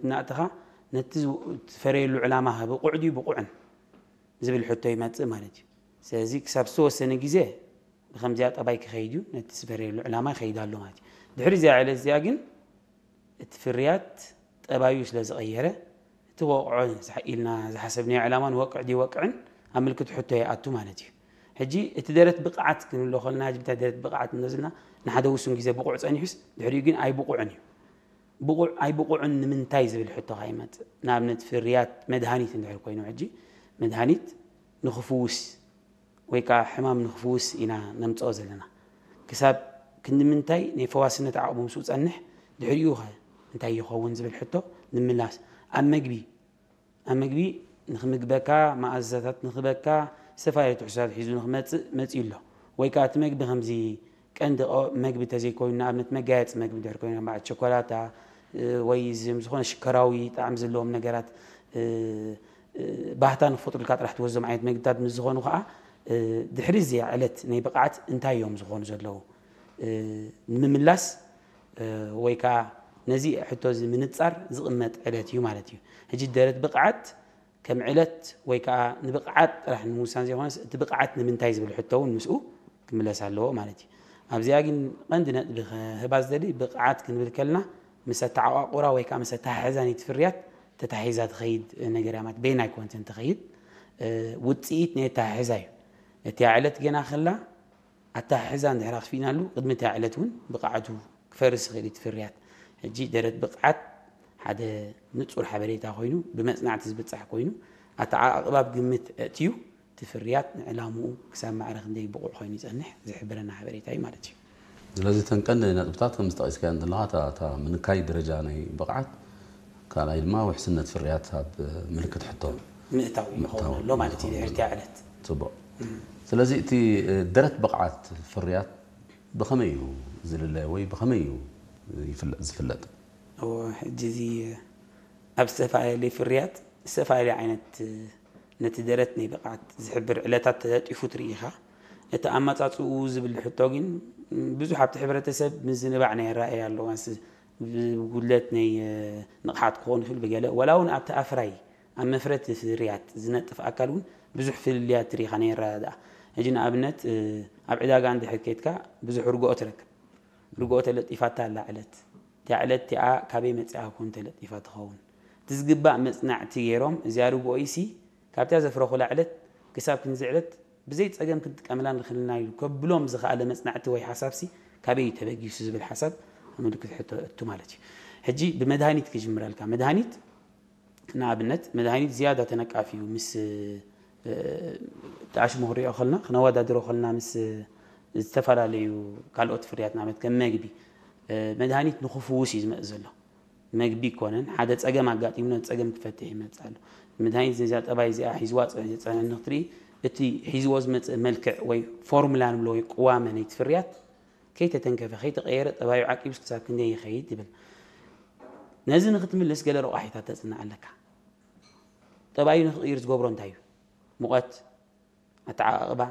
እናእተኻ ነቲ ዝፈረየሉ ዕላማ ብቑዕ ድዩ ብቑዕን ዝብል ሕቶ ይመጽእ ማለት እዩ። ስለዚ ክሳብ ዝተወሰነ ግዜ ብከምዚኣ ጠባይ ክኸይድ እዩ፣ ነቲ ዝፈረየሉ ዕላማ ይኸይድ ኣሎ ማለት እዩ። ድሕሪ እዚኣ ዕለት እዚኣ ግን እቲ ፍርያት ጠባዩ ስለ ዝቐየረ እቲ ወቕዖ ኢልና ዝሓሰብናዮ ዕላማ ንወቅዕ ድዩ ወቅዕን ኣብ ምልክት ሕቶ ይኣቱ ማለት እዩ። ሕጂ እቲ ደረት ብቕዓት ክንብሎ ከለና፣ ሕጂ እንታይ ደረት ብቕዓት እንብሎ ዘለና ንሓደ ውሱን ግዜ ብቑዕ ጸኒሑስ ድሕሪኡ ግን ኣይብቑዕን እዩ። ብቑዕ ኣይብቑዕን ንምንታይ ዝብል ሕቶ ከኣ ይመጽእ። ንኣብነት ፍርያት መድሃኒት እንድሕር ኮይኑ፣ ሕጂ መድሃኒት ንኽፍውስ ወይ ከዓ ሕማም ንኽፍውስ ኢና ነምጽኦ ዘለና። ክሳብ ክንዲ ምንታይ ናይ ፈዋስነት ዓቕሙ ምስኡ ጸንሕ፣ ድሕሪኡ ኸ እንታይ ይኸውን ዝብል ሕቶ ንምላስ። ኣብ መግቢ ኣብ መግቢ ንኽምግበካ፣ መኣዛታት ንኽበካ፣ ዝተፈላለዩ ትሕዝቶታት ሒዙ ንኽመጽእ መጺኡ ኣሎ። ወይ ከኣ እቲ መግቢ ከምዚ ቀንዲ ቀ-፣ መግቢ እንተዘይኮይኑ፣ ንኣብነት መጋየጺ መግቢ እንድሕር ኮይኑ፣ ከም በዓል ቸኮላታ፣ እ፣ ወይ ዝም ዝኾነ ሽከራዊ ጣዕሚ ዘለዎም ነገራት፣ እ፣ እ፣ ባህታ ንክፈጥሩልካ ጥራሕ ትወስዶም ዓይነት መግብታት ምስ ዝኾኑ ከኣ፣ እ፣ ድሕሪ እዚኣ ዕለት ናይ ብቕዓት እንታይ እዮም ዝኾኑ ዘለዉ? እ፣ ንምምላስ፣ እ፣ ወይ ከኣ ነዚ ሕቶ እዚ ምንጻር ዝቕመጥ ዕለት እዩ ማለት እዩ። ሕጂ ደረት ብቕዓት ከም ዕለት ወይ ከኣ ንብቕዓት ጥራሕ ንምውሳን ዘይኮነስ፣ እቲ ብቕዓት ንምንታይ ዝብል ሕቶ እውን ምስኡ ክምለስ ኣለዎ ማለት እዩ። ኣብዚኣ ግን ቀንዲ ነጥቢ ክህባ ዝደሊ፣ ብቕዓት ክንብል ከለና ምስ ኣተዓቋቑራ ወይ ከኣ ምስ ኣተሓሕዛ ናይቲ ፍርያት ተታሒዛ ትኸይድ ነገር እያ ማለት፣ በይና ኣይኮነትን ትኸይድ፣ እ፣ ውጽኢት ናይ ኣተሓሕዛ እዩ። እቲ ዕለት ገና ከላ ኣተሓሕዛ እንድሕር ኣኽፊእናሉ፣ ቅድሚ እታ ዕለት እውን ብቕዓቱ ክፈርስ ይኽእል እዩ እቲ ፍርያት። ሕጂ ደረት ብቕዓት ሓደ ንጹር ሓበሬታ ኮይኑ፣ ብመጽናዕቲ ዝብጻሕ ኮይኑ፣ ኣተዓቓቕባ ኣብ ግምት ኣእትዩ፣ እቲ ፍርያት ንዕላምኡ ክሳብ ማዕረ ክንደይ ብቑዕ ኮይኑ ይጸንሕ ዝሕብረና ሓበሬታ እዩ ማለት እዩ። ስለዚ እተን ቀንዲ ነጥብታት ከም ዝጠቒስካየን ዘለኻ፣ እታ፣ እታ ምንካይ ደረጃ ናይ ብቕዓት፣ ካልኣይ ድማ ውሕስነት ፍርያት ኣብ ምልክት ሕቶ ምእታው ይኸውን ምእታው ኣሎ ማለት እዩ ይኸውን ድሕሪ እታ ኣሎ። ዕለት። ጽቡቕ። እም። ስለዚ እቲ፣ እ፣ ደረት ብቕዓት ፍርያት ብኸመይ እዩ ዝልለ ወይ ብኸመይ እዩ ይፍለ-፣ ዝፍለጥ? እወ፣ ሕጂ እዚ ኣብ ዝተፈላለየ ፍርያት ዝተፈላለየ ዓይነት ነቲ ደረት ናይ ብቕዓት ዝሕብር ዕለታት ተለጢፉ ትርኢ ኢኻ። እቲ ኣመጻጽኡ ዝብል ሕቶ ግን ብዙሕ ኣብቲ ሕብረተሰብ ምዝንባዕ ናይ ኣረኣእያ ኣለዎ። ኣንስ ብጉድለት ናይ ንቕሓት ክኸውን ይኽእል ብገለ፣ ወላ እውን ኣብቲ ኣፍራይ ኣብ መፍረቲ ፍርያት ዝነጥፍ ኣካል እውን ብዙሕ ፍልልያት ትርኢ ኢኻ ናይ ኣረዳድኣ። ሕጂ ንኣብነት፣ እ፣ ኣብ ዕዳጋ እንድሕር ከይድካ ብዙሕ ርግኦ ትረክብ። ርግኦ ተለጢፋታ ኣላ ዕለት። እቲኣ ዕለት እቲኣ ካበይ መጺኣ ኮን ተለጢፋ ትኸውን? እቲ ዝግባእ መጽናዕቲ ገይሮም፣ እዚኣ ርግኦ ኢሲ ካብታ ዘፍረኹላ ዕለት ክሳብ ክንዚ ዕለት ብዘይ ጸገም ክንጥቀመላ ንኽእልና ኢሉ ከብሎም ዝኸኣለ መጽናዕቲ ወይ ሓሳብሲ ካበይ እዩ ተበጊሱ ዝብል ሓሳብ ኣብ ምልክት ሕቶ እቱ ማለት እዩ። ሕጂ ብመድሃኒት ክጅምረልካ። መድሃኒት ንኣብነት፣ መድሃኒት ዝያዳ ተነቃፊ እዩ። ምስ፣ እ፣ ተኣሽሙ ክንሪኦ ከለና፣ ክነወዳድሮ ከለና ምስ ዝተፈላለዩ ካልኦት ፍርያት፣ ንኣብነት ከም መግቢ፣ እ፣ መድሃኒት ንኽፍውስ እዩ ዝመጽእ ዘሎ። መግቢ ይኮነን፣ ሓደ ጸገም ኣጋጢሙ ነቲ ጸገም ክፈትሕ ይመጽእ ኣሎ። መድሃኒት ነዚኣ ጠባይ እዚኣ ሒዝዋ ጸ-፣ ጸንሐ ንክትርኢ፣ እቲ ሒዝዎ ዝመጽእ መልክዕ ወይ ፎርሙላ ንብሎ ወይ ቅዋመ ናይቲ ፍርያት ከይተተንከፈ፣ ከይተቐየረ፣ ጠባዩ ዓቂቡስ ክሳብ ክንደይ ይኸይድ ይብል። ነዚ ንክትምልስ ገለ ረቋሒታት ተጽንዕ ኣለካ። ጠባዩ ንክቕይር ዝገብሮ እንታይ እዩ? ሙቐት፣ ኣተዓቓቕባ፣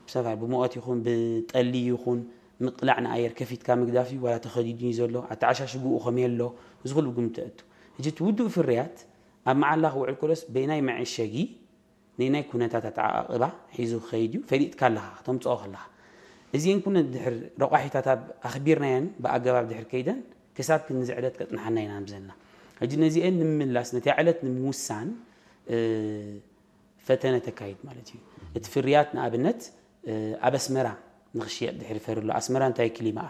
ብሰፋ-፣ ብሙቐት ይኹን ብጠሊ ይኹን ምቅላዕ ንኣየር ከፊትካ ምግዳፍ እዩ፣ ዋላ ተኸዲኑ እዩ ዘሎ፣ ኣተዓሻሽግኡ ከመይ ኣሎ፣ እዚ ኩሉ ግምት ተእቱ። ሕጂ እቲ ውዱእ ፍርያት ኣብ መዓላ ክውዕል ከሎስ በይናይ መዐሸጊ ናይ ናይ ኩነታት ኣተዓቓቕባ ሒዙ ክኸይድ እዩ፣ ፈሊጥካ ኣለኻ፣ ከተምጽኦ ከለኻ። እዚአን ኩለን ድሕር ረቋሒታት ኣብ ኣኽቢርናየን ብኣገባብ ድሕር ከይደን ክሳብ ክንዚ ዕለት ከጽንሓና ኢና ንብዘልና። ሕጂ ነዚአን ንምምላስ፣ ነቲ ዕለት ንምውሳን፣ እ፣ ፈተነ ተካይድ ማለት እዩ። እቲ ፍርያት ንኣብነት፣ እ፣ ኣብ ኣስመራ ንኽሽየጥ ድሕሪ ፈርሎ፣ ኣስመራ እንታይ ክሊማኣ?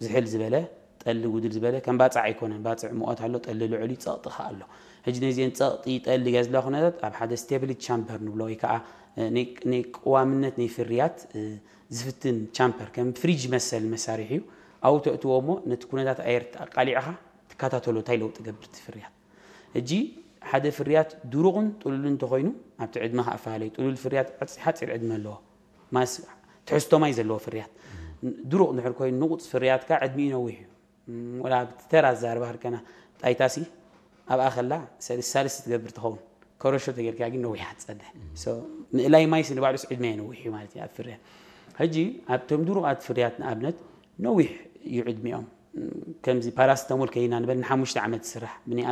ዝሕል ዝበለ፣ ጠሊ ጉድል ዝበለ፣ ከም ባጽዕ ኣይኮነን። ባጽዕ ሙቐት ኣሎ፣ ጠሊ ልዑል እዩ፣ ጸቕጢ ከኣ ኣሎ። ሕጂ ነዚአን ጸቕጢ፣ ጠሊ፣ ገዝላ ኩነታት ኣብ ሓደ ስቴብሊ ቻምበር ንብሎ ወይ ከኣ፣ እ፣ ናይ፣ ናይ ቅዋምነት ናይ ፍርያት፣ እ፣ ዝፍትን ቻምበር፣ ከም ፍሪጅ መሰል መሳርሒ እዩ። ኣብኡ ተእትዎ እሞ ነቲ ኩነታት ኣየር ኣቃሊዕኻ ትከታተሎ፣ እንታይ ለውጢ ገብር እቲ ፍርያት። ሕጂ ሓደ ፍርያት ድሩቕን ጥሉልን እንተኾይኑ፣ ኣብቲ ዕድመ ከኣ ኣፈላለዩ። ጥሉል ፍርያት ሓጺ-፣ ሓጺር ዕድመ ኣለዎ። ማስ-፣ ትሕዝቶ ማይ ዘለዎ ፍርያት። ድሩቕ እንድሕር ኮይኑ፣ ንቑጽ ፍርያት ከኣ ዕድሚኡ ነዊሕ እዩ። ም፣ ወላ ኣብቲ ተራ ኣዘራርባ ከድከና፣ ጣይታሲ ኣብኣ ከላ ሰልስ-፣ ሳልስቲ ትገብር ትኸውን። ከረሾ ተጌርካ ግን ነዊሕ ትጸንሕ። ሶ፣ ምእላይ ማይሲ ንባዕሉስ ዕድመ ነዊሕ እዩ ማለት እዩ ኣብ ፍርያት። ሕጂ ኣብቶም ድሩቓት ፍርያት ንኣብነት ነዊሕ እዩ ዕድሚኦም። ከምዚ ፓራስተሞል ከይና ንበል ንሓሙሽተ ዓመት ዝስራሕ ብናይ